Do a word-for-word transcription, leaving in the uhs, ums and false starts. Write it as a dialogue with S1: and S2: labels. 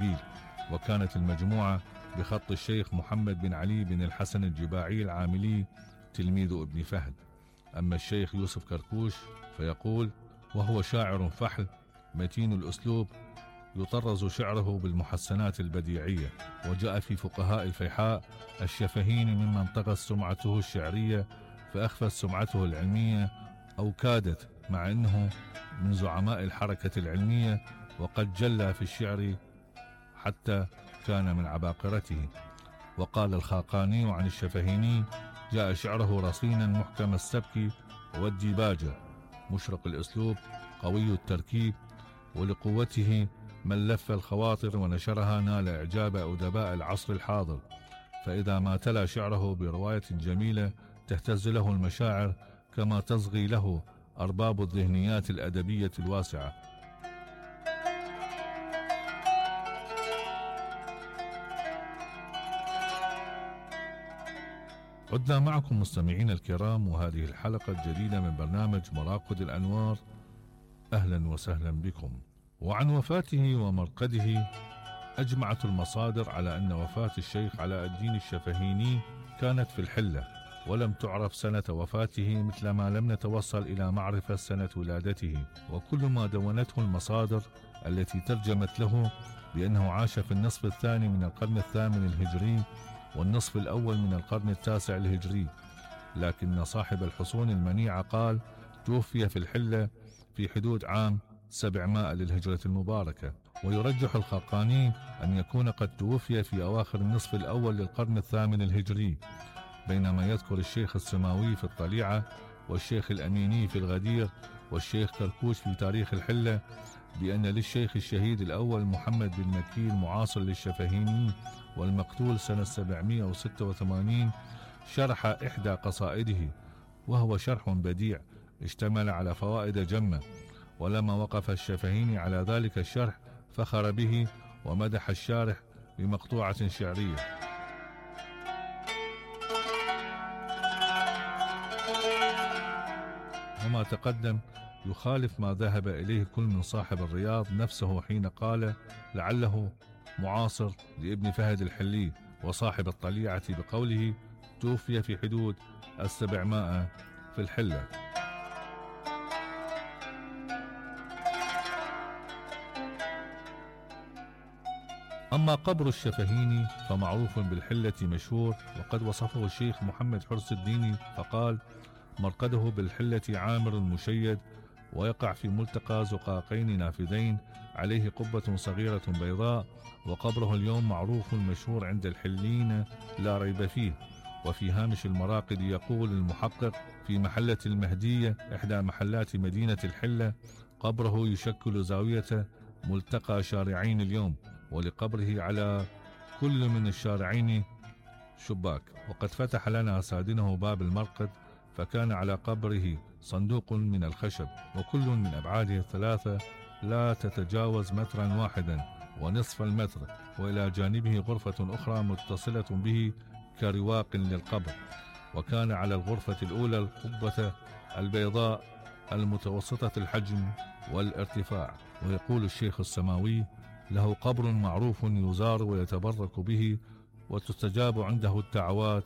S1: إربيل. وكانت المجموعة بخط الشيخ محمد بن علي بن الحسن الجباعي العاملي تلميذ ابن فهد. أما الشيخ يوسف كركوش فيقول: وهو شاعر فحل متين الأسلوب، يطرز شعره بالمحسنات البديعية. وجاء في فقهاء الفيحاء الشفهيني ممن طغت سمعته الشعرية فأخفت سمعته العلمية، أو كادت، مع أنه من زعماء الحركة العلمية، وقد جلى في الشعر حتى كان من عباقرته. وقال الخاقاني عن الشفهيني: جاء شعره رصينا محكم السبك والديباجة، مشرق الأسلوب قوي التركيب، ولقوته من لف الخواطر ونشرها نال إعجاب أدباء العصر الحاضر. فإذا ما تلا شعره برواية جميلة تهتز له المشاعر كما تصغي له أرباب الذهنيات الأدبية الواسعة. عدنا معكم مستمعين الكرام، وهذه الحلقة الجديدة من برنامج مراقد الأنوار. أهلا وسهلا بكم. وعن وفاته ومرقده أجمعت المصادر على أن وفاة الشيخ علاء الدين الشفهيني كانت في الحلة، ولم تعرف سنة وفاته، مثل ما لم نتوصل إلى معرفة سنة ولادته. وكل ما دونته المصادر التي ترجمت له بأنه عاش في النصف الثاني من القرن الثامن الهجري والنصف الأول من القرن التاسع الهجري، لكن صاحب الحصون المنيعة قال توفي في الحلة في حدود عام سبعمائة للهجرة المباركة. ويرجح الخاقاني أن يكون قد توفي في أواخر النصف الأول للقرن الثامن الهجري، بينما يذكر الشيخ السماوي في الطليعة والشيخ الأميني في الغدير والشيخ كركوش في تاريخ الحلة بأن للشيخ الشهيد الأول محمد بن مكي المعاصر للشفهيني والمقتول سنة سبعمائة وستة وثمانين شرح إحدى قصائده، وهو شرح بديع اشتمل على فوائد جمة. ولما وقف الشفهيني على ذلك الشرح فخر به ومدح الشارح بمقطوعة شعرية. وما تقدم يخالف ما ذهب إليه كل من صاحب الرياض نفسه حين قال لعله معاصر لابن فهد الحلي، وصاحب الطليعة بقوله توفي في حدود السبعمائة في الحلة. أما قبر الشفهيني فمعروف بالحلة مشهور، وقد وصفه الشيخ محمد حرس الديني فقال مرقده بالحلة عامر المشيد، ويقع في ملتقى زقاقين نافذين عليه قبة صغيرة بيضاء، وقبره اليوم معروف مشهور عند الحلين لا ريب فيه. وفي هامش المراقد يقول المحقق في محلة المهدية إحدى محلات مدينة الحلة قبره يشكل زاوية ملتقى شارعين اليوم، ولقبره على كل من الشارعين شباك. وقد فتح لنا سادنه باب المرقد فكان على قبره صندوق من الخشب، وكل من أبعاده الثلاثة لا تتجاوز مترا واحدا ونصف المتر، وإلى جانبه غرفة أخرى متصلة به كرواق للقبر. وكان على الغرفة الأولى القبة البيضاء المتوسطة الحجم والارتفاع. ويقول الشيخ السماوي له قبر معروف يزار ويتبرك به وتستجاب عنده الدعوات